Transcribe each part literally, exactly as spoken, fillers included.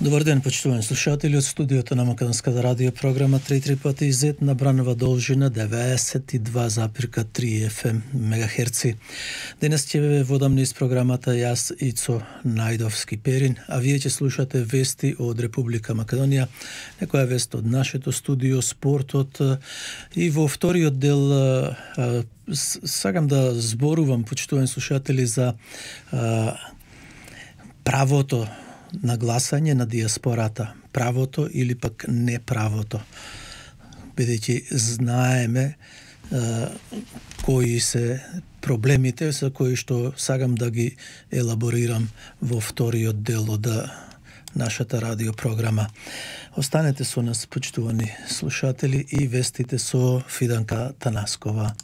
Добар ден, почитувани слушатели од студиото на Македонската радио програма три три пати зет на бранова должина деветдесет и два запирка три еф ем мегахерци. Денес ќе ве водам низ програмата јас Ицо Најдовски Перин, а вие ќе слушате вести од Република Македонија, некоја вест од нашето студио, спортот и во вториот дел а, сакам да зборувам, почитувани слушатели, за а, правото на гласање на диаспората, правото или пак неправото, бидејќи знаеме а, кои се проблемите за кои што сакам да ги елаборирам во вториот дел од нашата радиопрограма. Останете со нас, почитувани слушатели, и вестите со Фиданка Танаскова.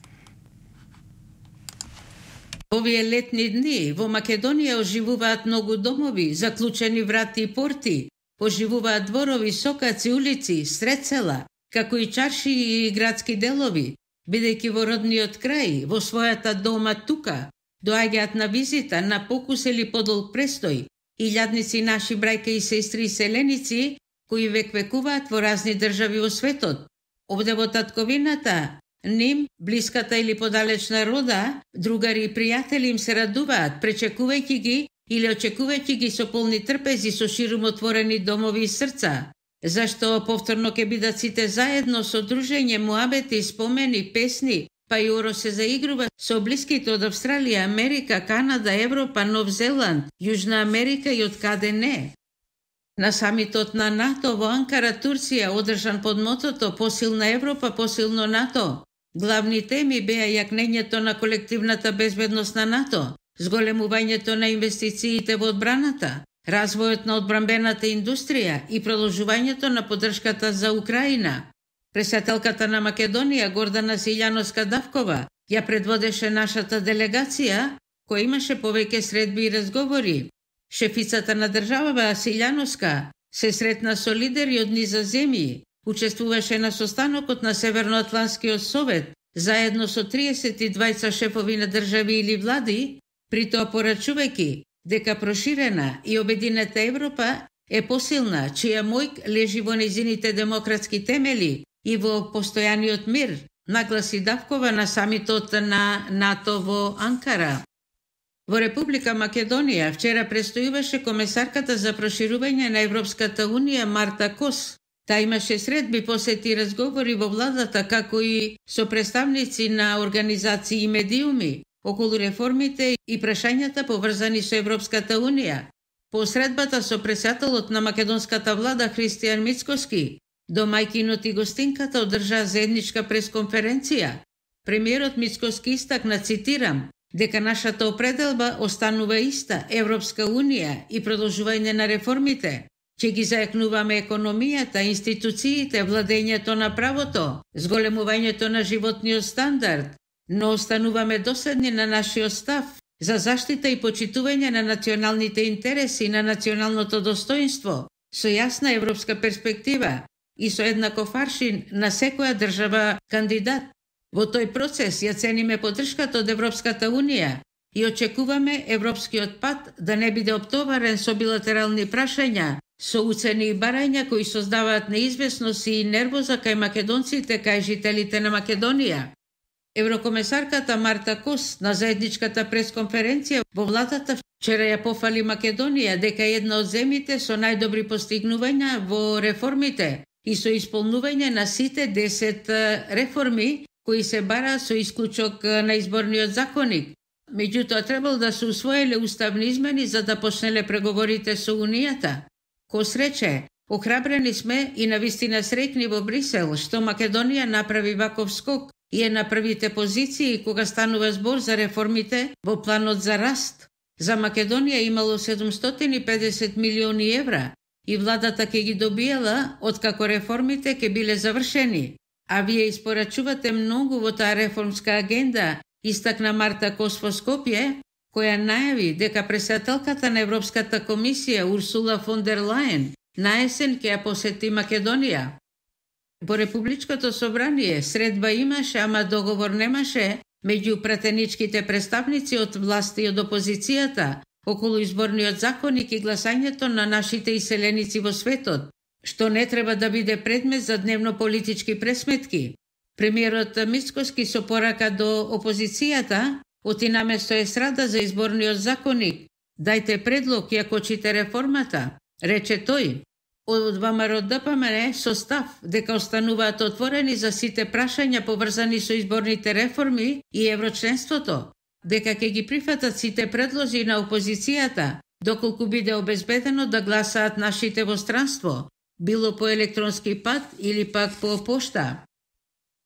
Овие летни дни во Македонија оживуваат многу домови, заклучени врати и порти, оживуваат дворови, сокаци, улици, сред села, како и чарши и градски делови, бидејќи во родниот крај, во својата дома тука, доаѓаат на визита, на покус или подолг престој, илјадници наши брајка и сестри и селеници, кои век-векуваат во разни држави во светот. Овде во татковината, ним, блиската или подалечна рода, другари и пријатели им се радуваат, пречекувајќи ги или очекувајќи ги со полни трпези, со ширум отворени домови и срца. Зашто повторно ќе бидат сите заедно со дружење, муабети, спомени, песни, па и оро се заигрува со блиските од Австралија, Америка, Канада, Европа, Нов Зеланд, Јужна Америка и од каде не. На самитот на НАТО во Анкара, Турција, одржан под мотото "Посилна Европа, посилно НАТО", главни теми беа јакнењето на колективната безбедност на НАТО, зголемувањето на инвестициите во одбраната, развојот на одбранбената индустрија и продолжувањето на поддршката за Украина. Председателката на Македонија, Гордана Силјановска-Давкова, ја предводеше нашата делегација, која имаше повеќе средби и разговори. Шефицата на државава Силјановска се сретна со лидери од низа земји, учествуваше на состанокот на Северноатлантскиот совет, заедно со триесет и двајца шефови на држави или влади, притоа порачувајќи дека проширена и обединета Европа е посилна, чија мојк лежи во незините демократски темели и во постојаниот мир, нагласи Давкова на самитот на НАТО во Анкара. Во Република Македонија вчера престојуваше комесарката за проширување на Европската унија Марта Кос. Та имаше средби, посети и разговори во владата, како и со представници на организации и медиуми околу реформите и прашањата поврзани со Европската унија. По средбата со председателот на македонската влада Христијан Мицкоски, домајкинот и гостинката одржаа заедничка пресконференција. Премиерот Мицкоски истакна, цитирам, дека нашата определба останува иста, Европска унија и продолжување на реформите, че ги зајакнуваме економијата, институциите, владењето на правото, зголемувањето на животниот стандард, но остануваме доследни на нашиот став за заштита и почитување на националните интереси, на националното достоинство, со јасна европска перспектива и со еднаков аршин на секоја држава кандидат. Во тој процес ја цениме поддршката од Европската унија и очекуваме европскиот пат да не биде оптоварен со билатерални прашања, со уцени и барања кои создаваат неизвестност и нервоза кај македонците, кај жителите на Македонија. Еврокомесарката Марта Кос на заедничката пресконференција во владата вчера ја пофали Македонија дека е една од земјите со најдобри постигнувања во реформите и со исполнување на сите десет реформи кои се бара со исклучок на изборниот законник. Меѓутоа требало да се усвоиле уставни измени за да почнеле преговорите со Унијата. Кос рече, охрабрени сме и навистина среќни во Брисел што Македонија направи ваков скок и е на првите позиции кога станува збор за реформите во планот за раст. За Македонија имало седумстотини и педесет милиони евра и владата ќе ги добиела откако реформите ќе биле завршени. А вие испорачувате многу во таа реформска агенда, истакна Марта Кос во Скопје, која најави дека председателката на Европската комисија Урсула фон дер Лајен наесен ќе ја посети Македонија. Во Републичкото собрание средба имаше, ама договор немаше меѓу пратеничките представници од власти и од опозицијата околу изборниот законник и гласањето на нашите иселеници во светот, што не треба да биде предмет за дневно политички пресметки. Премиерот Мицкоски со порака до опозицијата оти наместо естрада за изборниот законник. Дајте предлог и ако чите реформата, рече тој. Од ВМРО Д П М Н со став дека остануваат отворени за сите прашања поврзани со изборните реформи и еврочленството, дека ќе ги прифатат сите предлози на опозицијата, доколку биде обезбедено да гласаат нашите во странство, било по електронски пат или пак по пошта.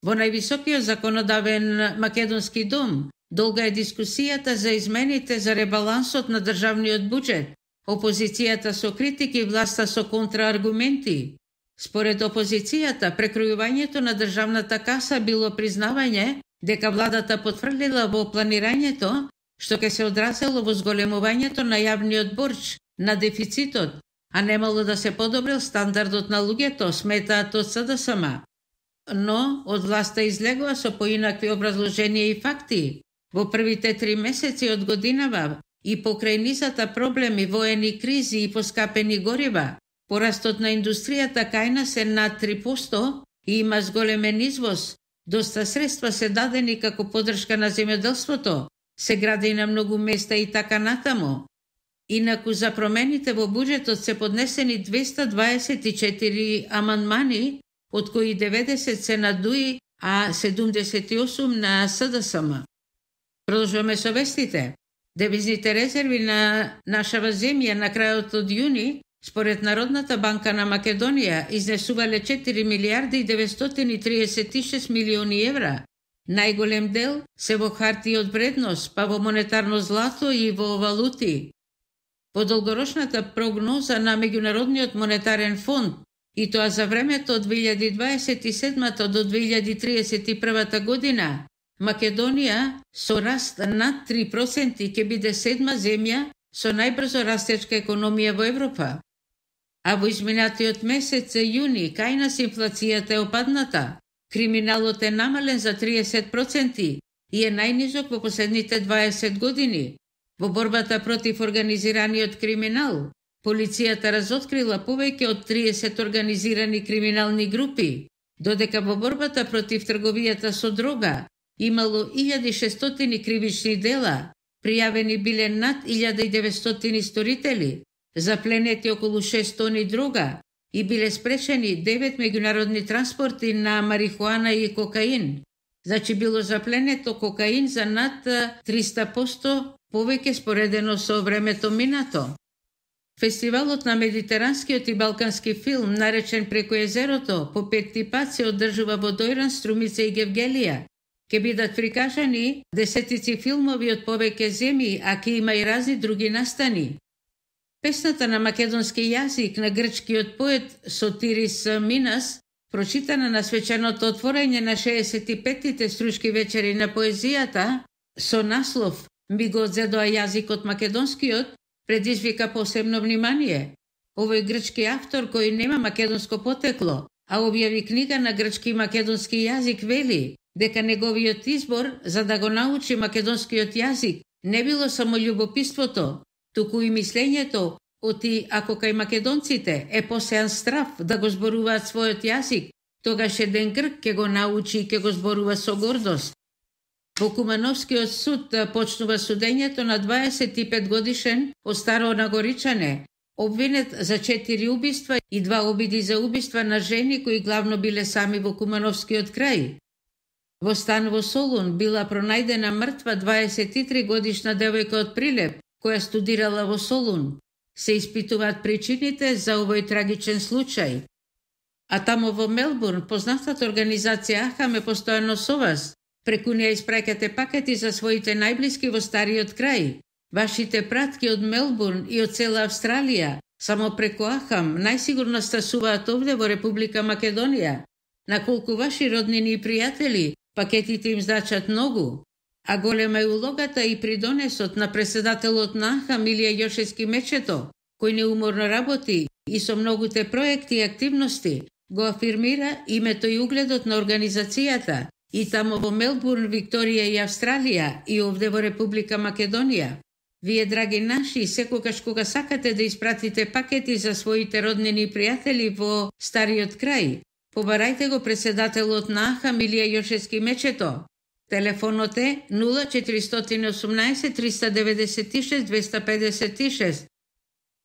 Во највисокиот законодавен македонски дом долга е дискусијата за измените за ребалансот на државниот буџет, опозицијата со критики, власта со контрааргументи. Според опозицијата, прекројувањето на државната каса било признавање дека владата потврдила во планирањето, што ќе се одразело во зголемувањето на јавниот борч, на дефицитот, а немало да се подобрил стандардот на луѓето, сметаат од С Д С М. Но од власта излегува со поинакви образложенија и факти. Во првите три месеци од годинава и покрај низата проблеми, воени кризи и поскапени горива, порастот на индустријата кај нас е над три проценти и има зголемен извоз. Доста средства се дадени како поддршка на земјоделството, се гради на многу места и така натаму. Инаку за промените во буџетот се поднесени двеста дваесет и четири амандмани, од кои деветдесет се на Д У И, а седумдесет и осум на С Д С М. Продолжуваме со вестите. Девизните резерви на нашава земја на крајот од јуни, според Народната банка на Македонија, изнесувале четири милијарди и деветстотини и триесет и шест милиони евра. Најголем дел се во хартии од вредност, па во монетарно злато и во валути. По долгорочната прогноза на Меѓународниот монетарен фонд, и тоа за времето од две илјади дваесет и седма до две илјади тридесет и прва година, Македонија со раст над три проценти ќе биде седма земја со најбрзо растечка економија во Европа. А во изминатиот месец јуни кај нас инфлацијата е опадната, криминалот е намален за триесет проценти и е најнизок во последните дваесет години. Во борбата против организираниот криминал, полицијата разоткрила повеќе од триесет организирани криминални групи, додека во борбата против трговијата со дрога имало илјада и шестстотини кривични дела, пријавени биле над илјада и деветстотини сторители, запленети околу шест тони дрога и биле спречени девет меѓународни транспорти на марихуана и кокаин. Значи било запленето кокаин за над триста проценти повеќе споредено со времето минато. Фестивалот на медитеранскиот и балкански филм, наречен Преку езерото, по петти пат се одржува во Дојран, Струмица и Гевгелија. Ке бидат прикажани десетици филмови од повеќе земји, а ке има и разни други настани. Песната на македонски јазик на грчкиот поет Сотирис Минас, прочитана на свеченото отворање на шеесет и петтите стручки вечери на поезијата, со наслов «Ми го одзедоа јазикот македонскиот», предизвика посебно внимание. Овој грчки автор кој нема македонско потекло, а објави книга на грчки и македонски јазик, вели дека неговиот избор за да го научи македонскиот јазик не било само љубопитството, туку и мислењето оти ако кај македонците е посеан страв да го зборуваат својот јазик, тогаш еден грк ќе го научи и ќе го зборува со гордост. Во Кумановскиот суд почнува судењето на дваесет и пет годишен од Старонагоричане, обвинет за четири убиства и два обиди за убиства на жени кои главно биле сами во Кумановскиот крај. Во стан во Солун била пронајдена мртва дваесет и три годишна девојка од Прилеп, која студирала во Солун. Се испитуваат причините за овој трагичен случај. А тамо во Мелбурн, познатата организација АХАМ е постојано со вас. Преку неја испраќате пакети за своите најблиски во стариот крај. Вашите пратки од Мелбурн и од цела Австралија, само преку АХАМ, најсигурно стасуваат овде во Република Македонија. На колку ваши роднини и пријатели, пакетите им значат многу. А голема е улогата и придонесот на председателот на АХАМ Илија Јошевски Мечето, кој неуморно работи и со многуте проекти и активности го афирмира името и угледот на организацијата и тамо во Мелбурн, Викторија и Австралија и овде во Република Македонија. Вие, драги наши, секогаш кога сакате да испратите пакети за своите роднини и пријатели во стариот крај, побарајте го председателот на АХА Милија Јошевски Мечето. Телефонот е нула четиристотини и осумнаесет триста деветдесет и шест двеста педесет и шест.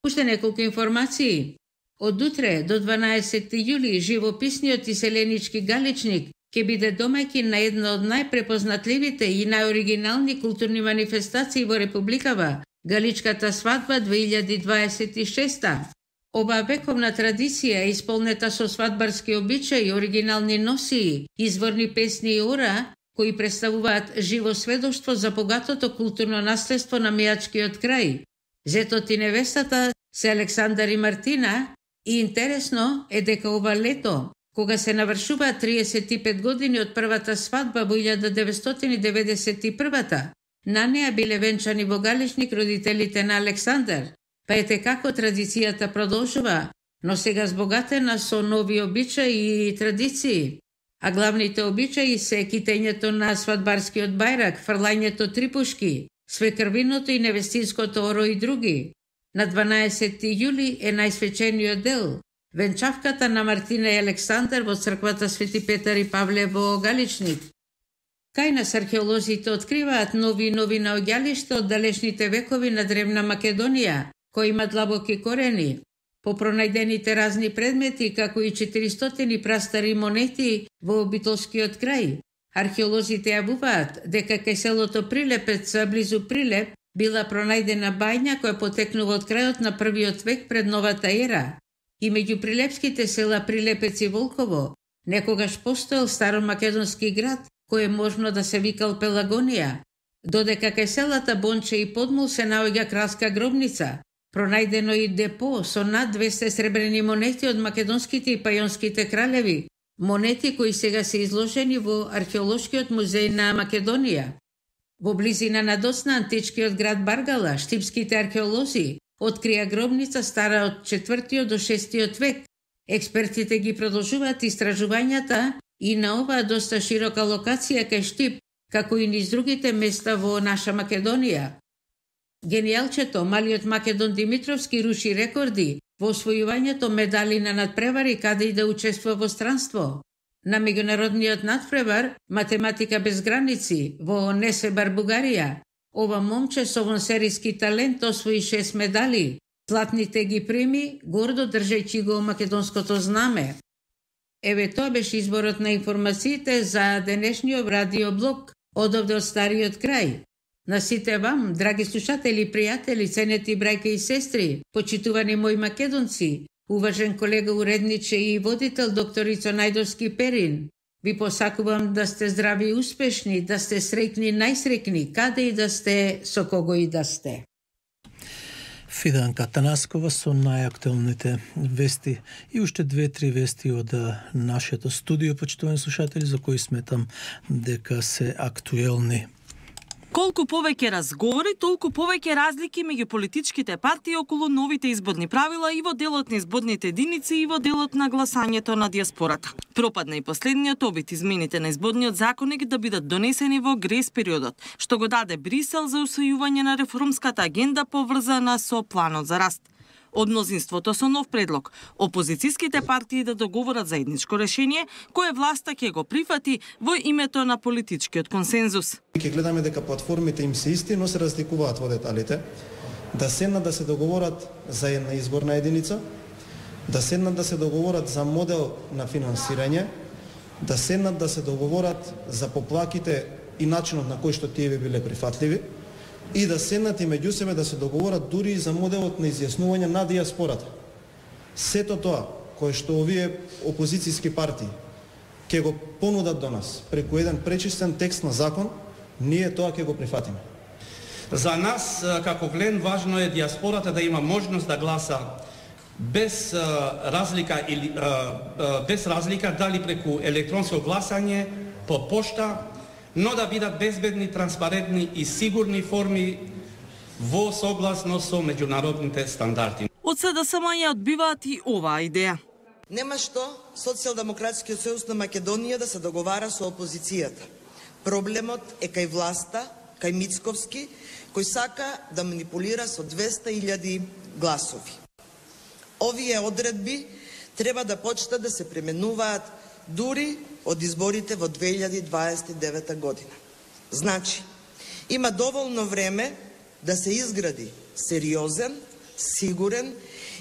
Уште неколку информации. Од утре до дванаесети јули живописниот и селенички галичник ќе биде домаќин на една од најпрепознатливите и најоригинални културни манифестации во Републикава, Галичката свадба две илјади дваесет и шеста. Оваа вековна традиција е исполнета со свадбарски обичаи, оригинални носии, изворни песни и ора, кои представуваат живо сведоштво за богатото културно наследство на Мејачкиот крај. Зетот и невестата се Александар и Мартина, и интересно е дека ова лето, кога се навршуваат триесет и пет години од првата свадба во илјада деветстотини деветдесет и прва, на неа биле венчани во Галичник родителите на Александар. Па ете како традицијата продолжува, но сега збогатена со нови обичаи и традиции. А главните обичаи се китењето на свадбарскиот бајрак, фрлањето трипушки, свекрвиното и невестинското оро и други. На дванаесети јули е најсвечениот дел, венчавката на Мартина и Александар во црквата Свети Петар и Павле во Галичник. Кај нас археолозите откриваат нови и нови наоѓалишта од далечните векови на древна Македонија, кои имат длабоки корени. По пронајдените разни предмети, како и четиристотини прастари монети во обителскиот крај, археолозите јавуваат дека кај селото Прилепец, близу Прилеп, била пронајдена бајња која потекнува од крајот на првиот век пред новата ера. И меѓу прилепските села Прилепец и Волково, некогаш постоел старомакедонски град, кој е можно да се викал Пелагонија, додека кај селата Бонче и Подмол се наоѓа кралска гробница, пронајдено и депо со над двесте сребрени монети од македонските и пајонските кралеви, монети кои сега се изложени во археолошкиот музеј на Македонија. Во близина на доцна античкиот град Баргала, штипските археолози открија гробница стара од четвртиот до шестиот век. Експертите ги продолжуваат истражувањата и на оваа доста широка локација кај Штип, како и низ другите места во наша Македонија. Генијалчето, малиот Македон Димитровски, руши рекорди во освојувањето медали на надпревари каде и да учествува во странство. На меѓународниот надпревар Математика без граници во Несебар, Бугарија, ова момче со вонсериски талент освои шест медали. Златните ги прими, гордо држејќи го македонското знаме. Еве тоа беше изборот на информациите за денешниот радиоблог одовде од стариот крај. На сите вам, драги слушатели, пријатели, ценети брајка и сестри, почитувани мои македонци, уважен колега уредниче и водител докторица Најдовски Перин, ви посакувам да сте здрави и успешни, да сте среќни, најсреќни, каде и да сте, со кого и да сте. Фиданка Танаскова со најактуелните вести и уште две-три вести од нашето студио, почитувани слушатели, за кои сметам дека се актуелни. Колку повеќе разговори, толку повеќе разлики меѓу политичките партии околу новите изборни правила и во делот на изборните единици и во делот на гласањето на диаспората. Пропадна и последниот обид измените на изборниот законник да бидат донесени во грес периодот, што го даде Брисел за усвојување на реформската агенда поврзана со планот за раст. Од мнозинството со нов предлог, опозицијските партии да договорат заедничко решение, кое власта ќе го прифати во името на политичкиот консензус. Ќе гледаме дека платформите им се исти, но се разликуваат во деталите. Да седнат да се договорат за една изборна единица, да седнат да се договорат за модел на финансирање, да седнат да се договорат за поплаките и начинот на кој што тие би биле прифатливи, и да седнат и меѓу себе да се договорат дури и за моделот на изјаснување на диаспората. Сето тоа, кое што овие опозицијски партии ќе го понудат до нас преку еден пречистен текст на закон, ние тоа ќе го прифатиме. За нас, како Глен, важно е диаспората да има можност да гласа без разлика или без разлика дали преку електронско гласање, по пошта, но да бидат безбедни, транспарентни и сигурни форми во согласно со меѓународните стандарди. Од СДСМ ја одбиваат и оваа идеја. Нема што Социјалдемократскиот сојуз на Македонија да се договара со опозицијата. Проблемот е кај власта, кај Мицковски, кој сака да манипулира со двесте илјади гласови. Овие одредби треба да почнат да се применуваат дури од изборите во две илјади дваесет и девета година. Значи, има доволно време да се изгради сериозен, сигурен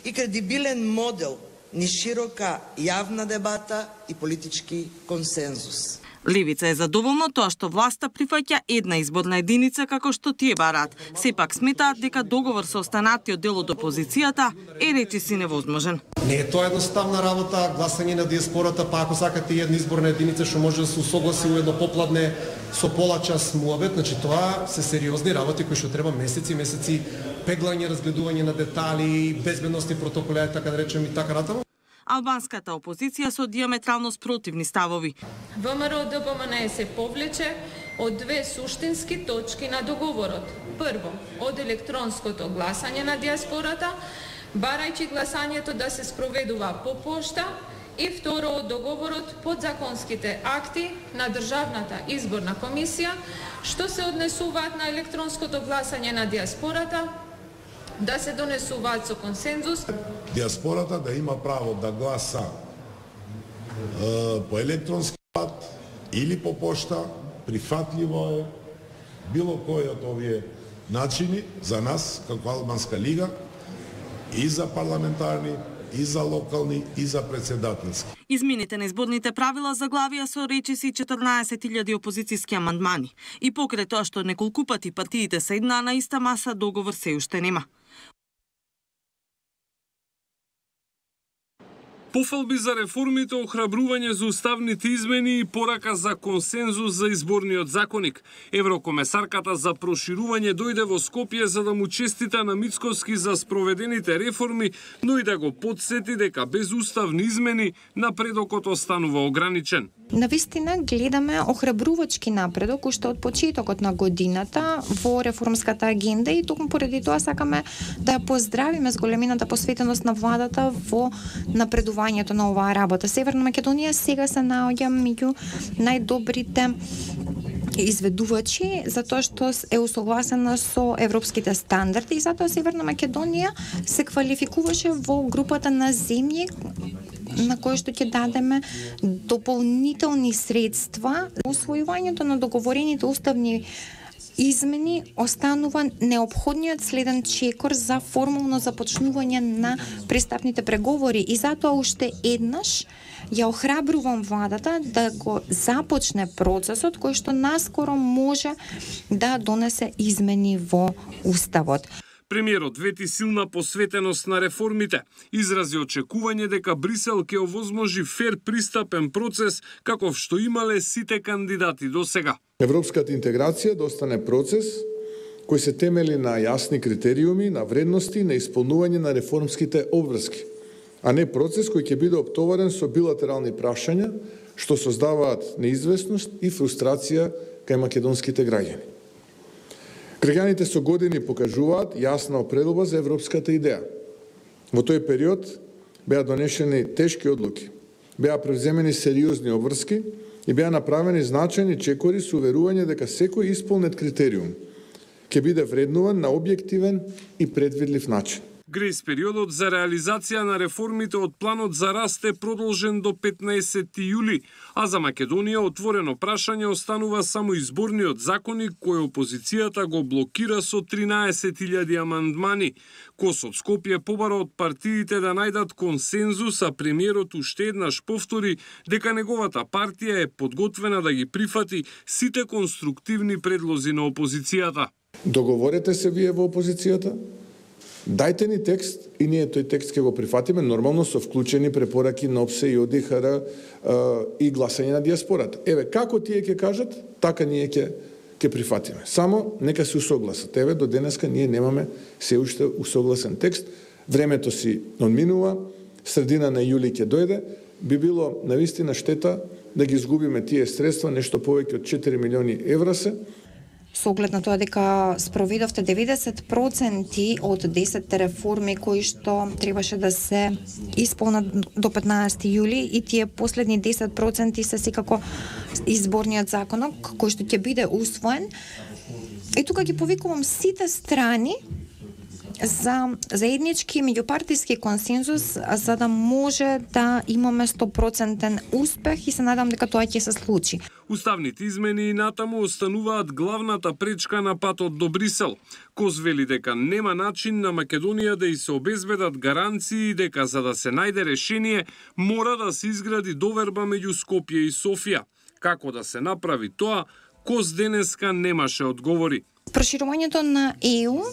и кредибилен модел ни широка јавна дебата и политички консензус. Левица е задоволна тоа што власта прифаќа една изборна единица како што тие бараат. Сепак сметаат дека договор со останатиот дел од опозицијата е речиси невозможен. Не е тоа едноставна работа, гласање на диаспората, па ако сакате една изборна единица што може да се усогласи у едно попладне со пола час муабет, значи тоа се сериозни работи кои што треба месеци, месеци пеглање, разгледување на детали, безбедносни протоколи, така да речем и така натаму. Албанската опозиција со диаметрално спротивни ставови. ВМРО-ДПМН се повлече од две суштински точки на договорот. Прво, од електронското гласање на диаспората, барајќи гласањето да се спроведува по пошта, и второ, од договорот подзаконските акти на Државната изборна комисија, што се однесуваат на електронското гласање на диаспората, да се донесуваат со консензус. Диаспората да има право да гласа е, по електронски пат или по пошта, прифатливо е било кој од овие начини за нас како Албанска лига и за парламентарни, и за локални, и за председателски. Измените на изборните правила заглавија со речиси четрнаесет илјади опозицијски амандмани. И покрај тоа што неколку пати партиите седнаа на иста маса, договор се уште нема. Пофалби за реформите, охрабрување за уставните измени и порака за консензус за изборниот законник. Еврокомесарката за проширување дојде во Скопје за да му честита на Мицковски за спроведените реформи, но и да го потсети дека без уставни измени напредокот останува ограничен. Навистина гледаме охрабрувачки напредок уште од почетокот на годината во реформската агенда и токму поради тоа сакаме да ја поздравиме с големината посветеност на владата во напредувањето на оваа работа. Северна Македонија сега се наоѓа меѓу најдобрите изведувачи затоа што е усогласена со европските стандарди и затоа Северна Македонија се квалификуваше во групата на земји на кој што ќе дадеме дополнителни средства. Усвојувањето на договорените уставни измени останува неопходниот следен чекор за формално започнување на пристапните преговори и затоа уште еднаш ја охрабрувам владата да го започне процесот кој што наскоро може да донесе измени во уставот. Премиерот вети силна посветеност на реформите, изрази очекување дека Брисел ќе овозможи фер пристапен процес каков што имале сите кандидати до сега. Европската интеграција да остане процес кој се темели на јасни критериуми, на вредности, на исполнување на реформските обврски, а не процес кој ќе биде оптоварен со билатерални прашања што создаваат неизвестност и фрустрација кај македонските граѓани. Граѓаните со години покажуваат јасна определба за европската идеја. Во тој период беа донесени тешки одлуки, беа превземени сериозни обврски и беа направени значајни чекори со уверување дека секој исполнет критериум ќе биде вреднуван на објективен и предвидлив начин. Грејс периодот за реализација на реформите од планот за раст е продолжен до петнаесети јули, а за Македонија отворено прашање останува само изборниот законник кој опозицијата го блокира со тринаесет илјади амандмани. Кос од Скопје побара од партиите да најдат консензус, а премиерот уште еднаш повтори дека неговата партија е подготвена да ги прифати сите конструктивни предлози на опозицијата. Договорете се вие во опозицијата, дајте ни текст и ние тој текст ќе го прифатиме, нормално со вклучени препораки на ОПСЕ и ОДИХР и гласање на диаспората. Еве, како тие ќе кажат, така ние ќе ќе прифатиме. Само нека се усогласат. Еве, до денеска ние немаме се уште усогласен текст. Времето си одминува, средина на јули ќе дојде, би било навистина штета да ги изгубиме тие средства, нешто повеќе од четири милиони евра се. Со оглед на тоа дека спроведовте деветдесет проценти од десетте реформи кои што требаше да се исполнат до петнаесети јули и тие последни десет проценти се секако изборниот законок кој што ќе биде усвоен, И тука ги повикувам сите страни за заеднички меѓупартиски консензус, за да може да имаме сто проценти успех и се надам дека тоа ќе се случи. Уставните измени и натаму остануваат главната пречка на патот до Брисел. Коз вели дека нема начин на Македонија да и се обезбедат гаранции дека за да се најде решение мора да се изгради доверба меѓу Скопје и Софија. Како да се направи тоа, Коз денеска немаше одговори. Проширувањето на Е У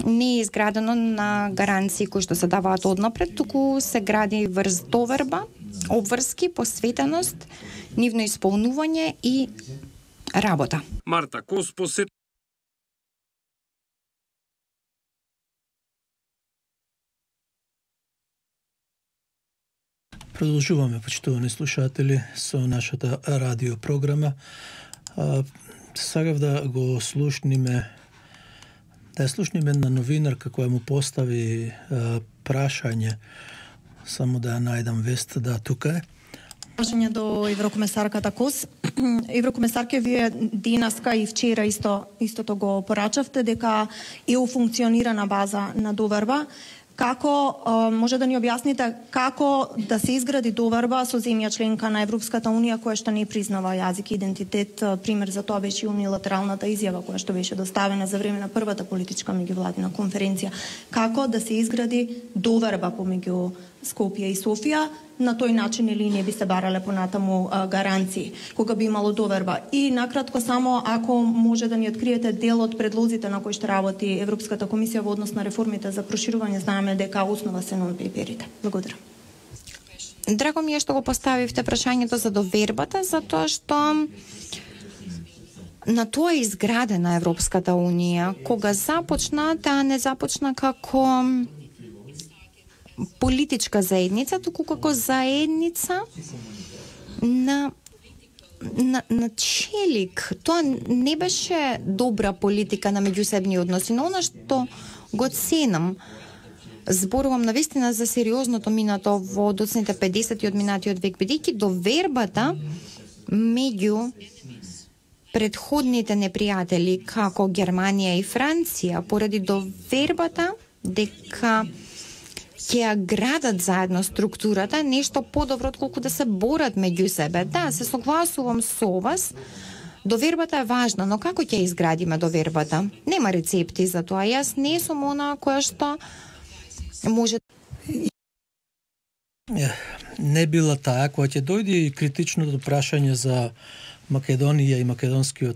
не е изградено на гаранции кои што се даваат однапред, туку се гради врз доверба, обврски, посветеност, нивно исполнување и работа. Марта Кос посет Продолжуваме, почитувани слушатели, со нашата радио програма. Сакав да го слушниме, да ја слушниме на новинарка која му постави а, прашање, само да ја најдам вест, да тука е. Прашање до еврокомесарката Кос. Еврокомесарке, вие денеска и вчера исто истото го порачавте дека Е У функционира на база на доверба. Како може да ни објасните како да се изгради доверба со земја членка на Европската унија која што не признава јазик и идентитет? Пример за тоа беше унилатералната изјава која што беше доставена за време на првата политичка меѓувладина конференција. Како да се изгради доверба помеѓу Скопје и Софија, на тој начин или не би се барале понатаму а, гаранции, кога би имало доверба. И накратко само, ако може да ни откриете дел од предлозите на кои што работи Европската комисија во однос на реформите за проширување, знаеме дека основа се нон-пейперите. Благодарам. Драго ми е што го поставивте прашањето за довербата, затоа што на тоа е изградена Европската унија. Кога започна, таа не започна како политичка заедница, туку како заедница на, на, на челик. Тоа не беше добра политика на меѓусебни односи, но она што го ценам, зборувам навистина за сериозното минато во доцните педесети од минатиот век, бидејќи довербата меѓу предходните непријатели како Германија и Франција, поради довербата дека ќе ја градат заедно структурата, нешто подобро отколку да се борат меѓу себе. Да, се согласувам со вас. Довербата е важна, но како ќе изградиме довербата? Нема рецепти за тоа. Јас не сум она која што може... Не била таа која ќе дојде и критичното прашање за Македонија и македонскиот